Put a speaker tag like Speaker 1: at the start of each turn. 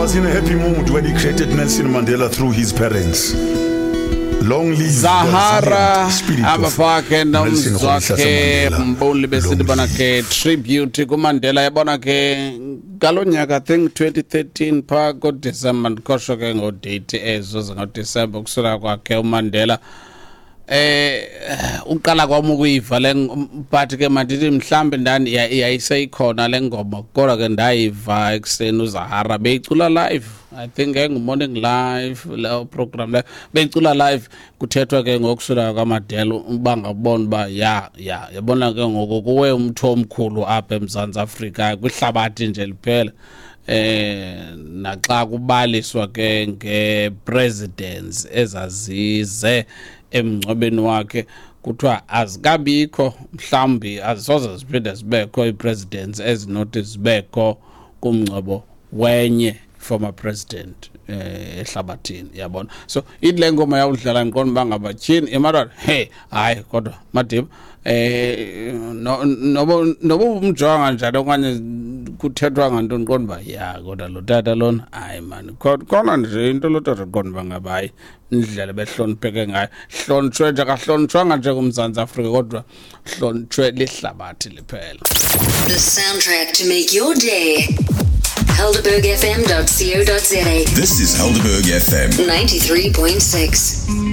Speaker 1: was in a happy mood when he created Nelson Mandela through his parents. Long live the
Speaker 2: Zahara
Speaker 1: resilient spirit of
Speaker 2: abafakhe
Speaker 1: Nelson
Speaker 2: nomzwakhe
Speaker 1: Rolihlahla Mandela.
Speaker 2: Mbuli besithi
Speaker 1: Long
Speaker 2: bona
Speaker 1: live.
Speaker 2: ke tribute kuMandela. Yabona ke ngalo nyaka, I think 2013 phaa koDisemba, ndikhohlwa ke ngodate ezo zingodisemba, kusula kwakhe uMandela. Uqala kwami ukuyiva le but ke mandithi mhlambe ndani yayiseyikhona le ngoma, kodwa ke ndayiva ekuseni uZahara beyicula live. I think engu-Morning Live leyo program leyo, beyicula live, kuthethwa ke ngokusula kwaMandela, uba ngabona uba ya ya yabona ke ngoku kuwe umthi omkhulu apha eMzantsi Afrika, kwihlabathi nje liphela. Naxa kubaliswa ke ngepresidents ezazize emngcwabeni wakhe, kuthiwa azikabikho, mhlawumbi azisoze ziphinde zibekho ii-presidents ezinothi zibekho kumngcwabo wenye former president ehlabathini, yabona. So ithi le ngoma yawudlala, ndiqonda uba ngaba tyhini emadoda, hey, hayi kodwa Madiba, no noba noba umjonga njani okanye kuthethwa ngantoni, ndiqonda uba ya kodwa lo tata lona, hayi mani, khona nje into lo tata, ndiqonda uba ngaba hayi indlela behlonipheke ngayo, hlonitshwe nje, akahlonitshwanga nje kuMzantsi Afrika kodwa hlonitshwe lihlabathi liphela.
Speaker 3: The soundtrack to make your day. HelderbergFM.co.za.
Speaker 4: This is Helderberg FM.
Speaker 3: 93.6.